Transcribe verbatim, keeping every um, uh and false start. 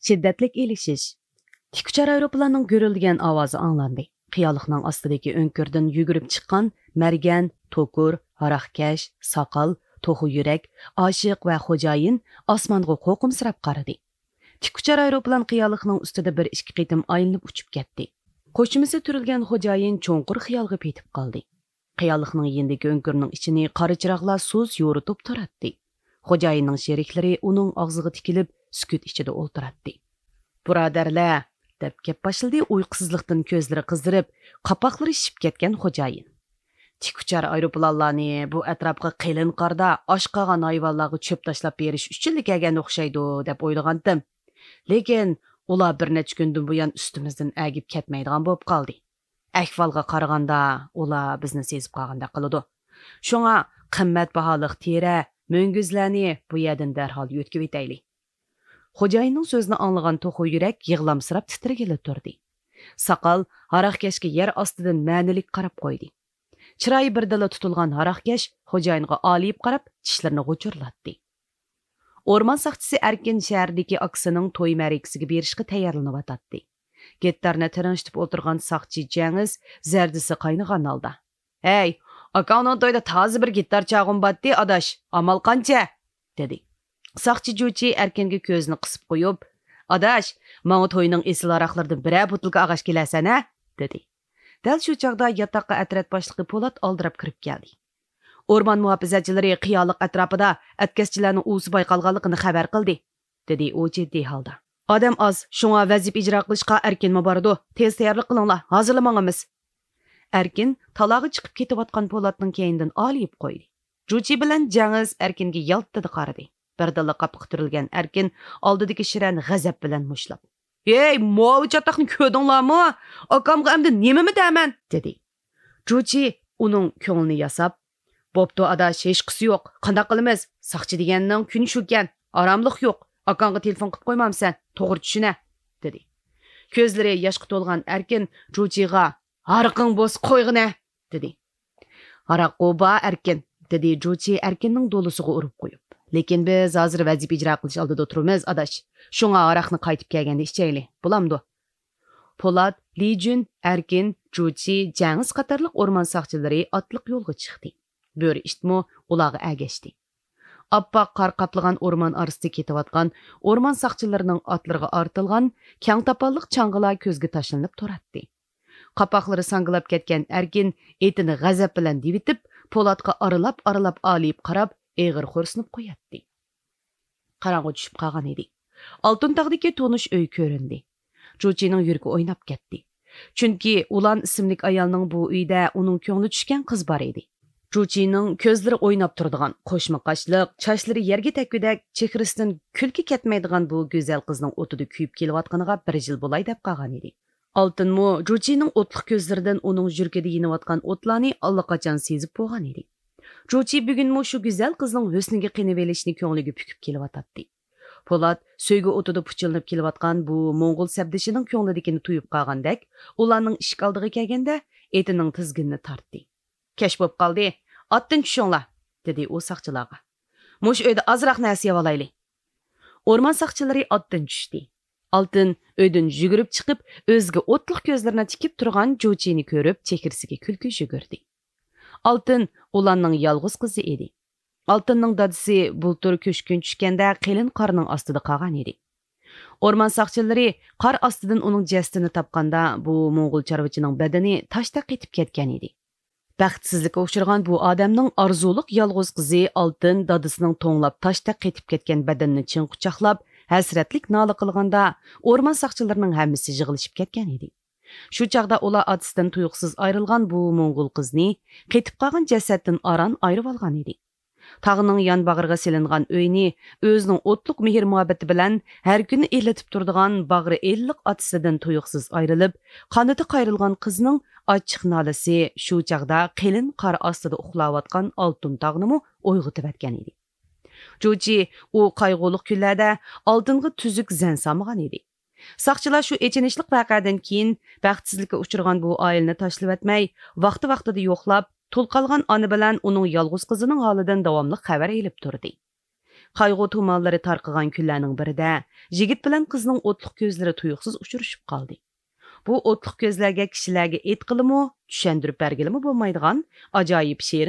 شىددەتلىك ئېلىشىش. تىك ئۇچار ئايروپىلاننىڭ گۈرۈلدىگەن ئاۋازى ئاڭلاندى. قىيالىقنىڭ ئاستىدىكى ئۆڭكۈردىن يۈگۈرۈپ چىققان مەرگەن، توكۇر، ھاراقكەش، ساقال، توخۇ يۈرەك، ئاشىق ۋە خوجايىن ئاسمانغا قورقۇمسىراپ قارىدى. تىك ئۇچار ئايروپىلان قىيالىقنىڭ ئۈستىدە بىر ئىككى قېتىم ئايلىنىپ ئۇچۇپ كەتتى. قوشۇمىسى تۈرۈلگەن خوجايىن چوڭقۇر خىيالغا پېتىپ قالدى. قىيالىقنىڭ يېنىدىكى ئۆڭكۈرنىڭ ئىچىنى قارا چىراغلار سۇس يورۇتۇپ تۇراتتى. خوجايىننىڭ شېرىكلىرى ئۇنىڭ ئاغزىغا تىكىلىپ، سۈكۈت ئىچىدە ئولتۇراتتى. بۇرادەرلەر، دەپ گەپ باشلىدى ئۇيقۇسىزلىقتىن كۆزلىرى قىزىرىپ، قاپاقلىرى شىشىپ كەتكەن خوجايىن. تىك ئۇچار ئايروپىلانلارنى بۇ ئەتراپقا قېلىن قاردا ئاچ قالغان ھايۋانلارغا چۆپ تاشلاپ بېرىش ئۈچۈنلا كەلگەن ئوخشايدۇ، دەپ ئويلىغانتىم. لېكىن ئۇلار بىر نەچچە كۈندىن بۇيان ئۈستىمىزدىن ئەگىپ كەتمەيدىغان بولۇپ قالدى. ئەھۋالغا قارىغاندا، ئۇلار بىزنى سېزىپ قالغاندەك قىلىدۇ. شۇڭا قىممەت باھالىق تېرە، مۈڭگۈزلەرنى بۇ يەردىن دەرھال يۆتكىۋېتەيلى. خوجايىننىڭ سۆزىنى ئاڭلىغان توخۇ يۈرەك يىغلامسىراپ تىترىگىلى تۇردى. ساقال ھاراقكەشكە يەر ئاستىدىن مەنىلىك قاراپ قويدى. چىرايى بىردىنلا تۇتۇلغان ھاراقكەش خوجايىنغا ئالىيىپ قاراپ، چىشلىرىنى غۇچۇرلاتتى. ئورمان ساقچىسى ئەركىن شەھەردىكى ئاكىسىنىڭ توي مەرىكىسىگە بېرىشقا تەييارلىنىۋاتاتتى. گىتارنى تىرىڭشىتىپ ئولتۇرغان ساقچى جەڭىز زەردىسى قاينىغان ھالدا، «ھەي، ئاكاڭنىڭ تويىدا تازا بىر گىتار چالغۇم باتتى، ئاداش، ئامال قانچە؟» دېدى. ساقچى جۇچى ئەركىنگە كۆزىنى قىسىپ قويۇپ، «ئاداش، ماڭا توينىڭ ئېسىل ھاراقلىرىدىن بىرەر بوتۇلكا ئالغاچ كېلەرسەن ھە؟» دېدى. دەل شۇ چاغدا ياتاققا ئەترەت باشلىقى پولات ئالدىراپ كىرىپ كەلدى. «ئورمان مۇھاپىزەتچىلىرى قىيالىق ئەتراپىدا ئەتكەسچىلەرنىڭ ئۇۋىسى بايقالغانلىقىنى خەۋەر قىلدى.» دېدى ئۇ جىددىي ھالدا. «ئادەم ئاز، شۇڭا ۋەزىپە ئىجرا قىلىشقا ئەركىنمۇ بارىدۇ. تېز تەييارلىق قىلىڭلار، ھازىرلا ماڭىمىز.» ئەركىن تالاغا چىقىپ كېتىۋاتقان پولاتنىڭ كەينىدىن ئالىيىپ قويدى. جۇچى بىلەن جەڭىز ئەركىنگە يالتىدە قارىدى. بىردىنلا قاپىقى تۈرۈلگەن ئەركىن ئالدىدىكى شىرەنى غەزەپ بىلەن مۇشتلاپ، «ھېي، ماۋۇ چاتاقنى كۆردۈڭلارمۇ؟ ئاكامغا ئەمدى نېمىمۇ دەمەن؟» دېدى. جۇچى ئۇنىڭ كۆڭلىنى ياساپ، «بوپتۇ ئاداش، ھېچقىسى يوق. قانداق قىلىمىز؟ ساقچى دېگەننىڭ كۈنى شۇكەن. ئاراملىق يوق. ئاكاڭغا تېلېفون قىلىپ قويمامسەن؟ توغرا چۈشىنە.» دېدى. كۆزلىرى ياشقا تولغان ئەركىن جۇچىغا، «ھاراقىڭ بولسا قويغىنە.» دېدى. «ھاراققۇ بار ئەركىن.» دېدى جۇچى ئەركىننىڭ دولىسىغا ئۇرۇپ قويۇپ. «لېكىن بىز ھازىر ۋەزىپە ئىجرا قىلىش ئالدىدا تۇرىمىز، ئاداش. شۇڭا ھاراقنى قايتىپ كەلگەندە ئىچەيلى. بولامدۇ؟» پولات، لىجۈن، ئەركىن، جۇچى، جەڭىز قاتارلىق ئورمان ساقچىلىرى ئاتلىق يولغا چىقتى. بۆرە ئىتمۇ ئۇلارغا ئەگەشتى. ئاپئاق قار قاپلىغان ئورمان ئارىسىدا كېتىۋاتقان ئورمان ساقچىلىرىنىڭ ئاتلىرىغا ئارتىلغان كەڭ تاپانلىق چاڭغىلار كۆزگە تاشلىنىپ تۇراتتى. قاپاقلىرى ساڭگىلاپ كەتكەن ئەركىن ئېتىنى غەزەپ بىلەن دېۋىتىپ، پولاتقا ئارىلاپ-ئارىلاپ ئالىيىپ قاراپ، ئېغىر خورسىنىپ قوياتتى. قاراڭغۇ چۈشۈپ قالغان ئىدى. ئالتۇن تاغدىكى تونۇش ئۆي كۆرۈندى. جۇچىنىڭ يۈرىكى ئويناپ كەتتى. چۈنكى ئۇلان ئىسىملىك ئايالنىڭ بۇ ئۆيدە ئۇنىڭ كۆڭلى چۈشكەن قىز بار ئىدى. جۇچىنىڭ كۆزلىرى ئويناپ تۇرىدىغان، قوشما قاشلىق، چاچلىرى يەرگە تەگكۈدەك، چېھرىسىدىن كۈلكە كەتمەيدىغان بۇ گۈزەل قىزنىڭ ئوتىدا كۆيۈپ كېلىۋاتقىنىغا بىر يىل بولاي دەپ قالغان ئىدى. ئالتۇنمۇ جۇچىنىڭ ئوتلۇق كۆزلىرىدىن ئۇنىڭ يۈرىكىدە يېنىۋاتقان ئوتلارنى ئاللىقاچان سېزىپ بولغان ئىدى. جۇچى بۈگۈنمۇ شۇ گۈزەل قىزنىڭ ھۆسنىگە قېنىۋېلىشنى كۆڭلىگە پۈكۈپ كېلىۋاتاتتى. پولات سۆيگۈ ئوتىدا پۇچىلىنىپ كېلىۋاتقان بۇ موڭغۇل سەپدىشىنىڭ كۆڭلىدىكىنى تۇيۇپ قالغاندەك، ئۇلارنىڭ ئىشىك ئالدىغا كەلگەندە ئېتىنىڭ تىزگىنىنى تارتتى. «كەچ بوپ قالدى، ئاتتىن چۈشۈڭلار!» دېدى ئۇ ساقچىلارغا. «مۇشۇ ئۆيدە ئازراق نەرسە يەۋالايلى.» ئورمان ساقچىلىرى ئاتتىن چۈشتى. ئالتىن ئۆيدىن يۈگۈرۈپ چىقىپ، ئۆزىگە ئوتلۇق كۆزلىرىنى تىكىپ تۇرغان جۇچىنى كۆرۈپ، چېھرىسىگە كۈلكە يۈگۈردى. ئالتىن ئۇلارنىڭ يالغۇز قىزى ئىدى. ئالتىننىڭ دادىسى بۇلتۇر كۆچكۈن چۈشكەندە قېلىن قارنىڭ ئاستىدا قالغان ئىدى. ئورمان ساقچىلىرى قار ئاستىدىن ئۇنىڭ جەسىتىنى تاپقاندا، بۇ موڭغۇل چارۋىچىنىڭ بەدىنى تاشتەك قېتىپ كەتكەن ئىدى. بەختسىزلىككە ئۇچرىغان بۇ ئادەمنىڭ ئارزۇلۇق يالغۇز قىزى ئالتىن دادىسىنىڭ توڭلاپ تاشتەك قېتىپ كەتكەن بەدىنىنى چىڭ قۇچاقلاپ، ھەسرەتلىك نالە قىلغاندا، ئورمان ساقچىلىرىنىڭ ھەممىسى يىغىلىشىپ كەتكەن ئىدى. شۇ چاغدا ئۇلار ئاتىسىدىن تۇيۇقسىز ئايرىلغان بۇ موڭغۇل قىزنى قېتىپ قالغان جەسەتتىن ئاران ئايرىۋالغان ئىدى. تاغنىڭ يان باغرىغا سېلىنغان ئۆينى ئۆزىنىڭ ئوتلۇق مېھىر-مۇھەببىتى بىلەن ھەر كۈنى ئىللىتىپ تۇرىدىغان باغرى ئىللىق ئاتىسىدىن تۇيۇقسىز ئايرىلىپ، قانىتى قايرىلغان قىزنىڭ ئاچچىق نالىسى شۇ چاغدا قېلىن قار ئاستىدا ئۇخلاۋاتقان ئالتۇن تاغنىمۇ ئويغىتىۋەتكەن ئىدى. جۇچى ئۇ قايغۇلۇق كۈنلەردە ئالتۇنغا تۈزۈك زەن سالمىغان ئىدى. ساقچىلار شۇ ئېچىنىشلىق ۋەقەدىن كېيىن، بەختسىزلىككە ئۇچرىغان بۇ ئائىلىنى تاشلىۋەتمەي، ۋاقتى-ۋاقتىدا يوقلاپ، تۇل قالغان ئانا بىلەن ئۇنىڭ يالغۇز قىزىنىڭ ھالىدىن داۋاملىق خەۋەر ئېلىپ تۇردى. قايغۇ تۇمانلىرى تارقىغان كۈنلەرنىڭ بىرىدە يىگىت بىلەن قىزنىڭ ئوتلۇق كۆزلىرى تۇيۇقسىز ئۇچرىشىپ قالدى. بۇ ئوتلۇق كۆزلەرگە كىشىلەرگە ئېيتقىلىمۇ، چۈشەندۈرۈپ بەرگىلىمۇ بولمايدىغان ئاجايىپ شېرىن